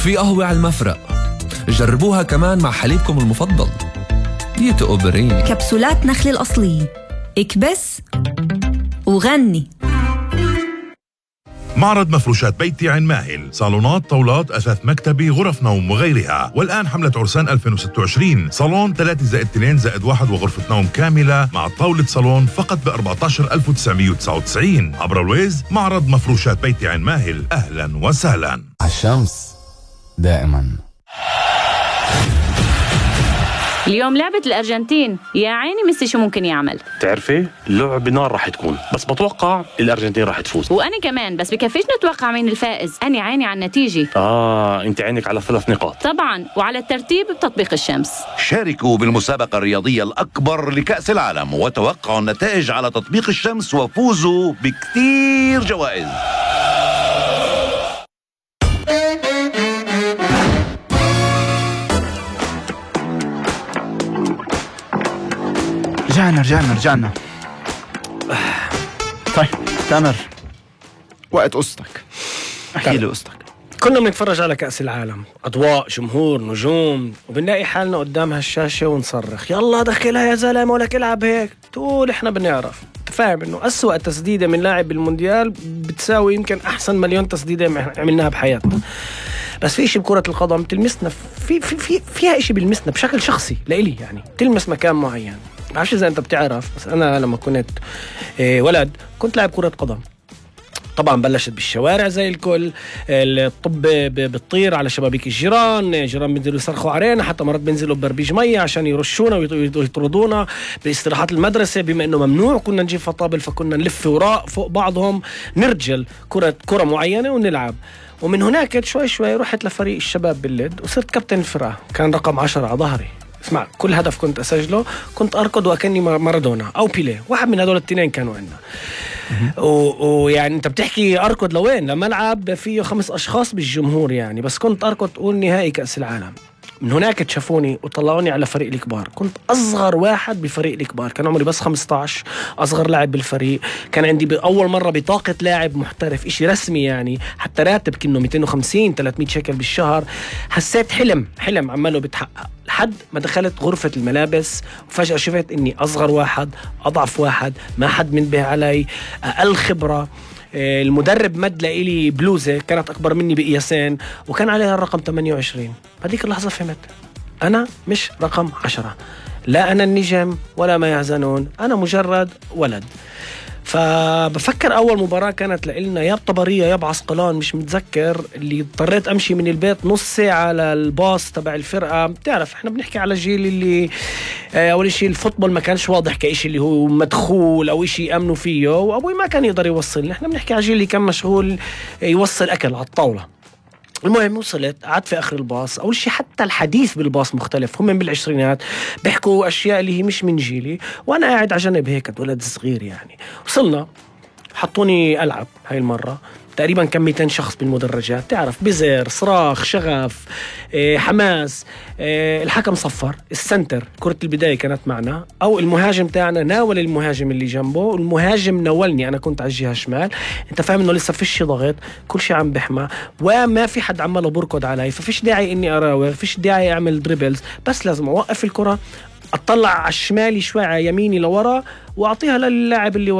في قهوة على المفرق، جربوها كمان مع حليبكم المفضل. بيتقوا بريني. كبسولات نخل الأصلية، اكبس وغني. معرض مفروشات بيتي عين ماهل، صالونات، طاولات، أثاث مكتبي، غرف نوم وغيرها. والآن حملة عرسان 2026، صالون 3+2+1 وغرفة نوم كاملة مع طاولة صالون فقط ب 14,999 عبر الويز. معرض مفروشات بيتي عين ماهل، أهلا وسهلا. الشمس دائما. اليوم لعبة الأرجنتين، يا عيني ميسي شو ممكن يعمل. تعرفي اللعبة نار رح تكون، بس بتوقع الأرجنتين رح تفوز. وأنا كمان، بس بكفيش نتوقع مين الفائز. أنا عيني على النتيجة. أنت عينك على 3 نقاط طبعا، وعلى الترتيب بتطبيق الشمس. شاركوا بالمسابقة الرياضية الأكبر لكأس العالم وتوقعوا النتائج على تطبيق الشمس وفوزوا بكتير جوائز. رجعنا. طيب تامر، وقت قصتك، احكي لي قصتك. كنا بنتفرج على كأس العالم، أضواء، جمهور، نجوم، وبنلاقي حالنا قدام هالشاشة ونصرخ يلا دخلها يا زلمة ولك العب هيك. تقول احنا بنعرف. تفهم انه أسوأ تسديدة من لاعب بالمونديال بتساوي يمكن أحسن مليون تسديدة عملناها بحياتنا. بس في إشي بكرة القدم تلمسنا، فيها إشي بلمسنا بشكل شخصي لإلي، يعني تلمس مكان معين. بعرفش إذا أنت بتعرف، بس أنا لما كنت ولد كنت لاعب كرة قدم. طبعا بلشت بالشوارع زي الكل، الطب بتطير على شبابيك الجيران بينزلوا يصرخوا علينا، حتى مرات بينزلوا ببربيج مية عشان يرشونا ويطردونا باستراحات المدرسة. بما انه ممنوع كنا نجيب فطابل، فكنا نلف وراء فوق بعضهم نرجل كرة معينة ونلعب. ومن هناك شوي رحت لفريق الشباب باللد وصرت كابتن الفرقة، كان رقم 10 على ظهري. اسمع، كل هدف كنت أسجله كنت أركض وأكني مارادونا أو بيليه، واحد من هدول التنين كانوا عندنا. ويعني أنت بتحكي أركض لوين؟ لملعب فيه 5 أشخاص بالجمهور يعني، بس كنت أركض تقول نهائي كأس العالم. من هناك تشافوني وطلعوني على فريق الكبار. كنت أصغر واحد بفريق الكبار، كان عمري بس 15، أصغر لاعب بالفريق. كان عندي أول مرة بطاقة لاعب محترف، إشي رسمي يعني، حتى راتب كأنه 250-300 شيكل بالشهر. حسيت حلم عماله بتحقق، لحد ما دخلت غرفة الملابس وفجأة شفت إني أصغر واحد، أضعف واحد، ما حد منبه علي، أقل خبرة. المدرب مد لإلي بلوزة كانت أكبر مني بقياسين وكان عليها الرقم 28. هذيك اللحظة فهمت أنا مش رقم 10، لا أنا النجم ولا ما يحزنون، أنا مجرد ولد. فبفكر أول مباراة كانت لإلنا يا بطبرية يا بعسقلان، مش متذكر، اللي اضطريت أمشي من البيت نص ساعة للباص تبع الفرقة. بتعرف إحنا بنحكي على الجيل اللي أول شيء الفوتبول ما كانش واضح كإشي اللي هو مدخول أو إشي يأمنوا فيه، وأبوي ما كان يقدر يوصل. إحنا بنحكي على الجيل اللي كان مشغول يوصل أكل على الطاولة. المهم وصلت، قعدت في آخر الباص. أول شيء حتى الحديث بالباص مختلف، هم من بالعشرينات بيحكوا أشياء اللي هي مش من جيلي، وأنا قاعد على جنب هيك ولد صغير يعني. وصلنا حطوني ألعب هاي المرة، تقريبا كان 200 شخص بالمدرجات، تعرف بزر، صراخ، شغف، حماس. الحكم صفر، السنتر كرة البداية كانت معنا، أو المهاجم تاعنا ناول المهاجم اللي جنبه، المهاجم ناولني، أنا كنت على الجهة الشمال. أنت فاهم إنه لسه فيش ضغط، كل شيء عم بحمى وما في حد عماله بركض علي، ففيش داعي إني أراوغ، فيش داعي أعمل دريبلز، بس لازم أوقف الكرة، أطلع على الشمالي شوي على يميني لورا وأعطيها للاعب اللي ورا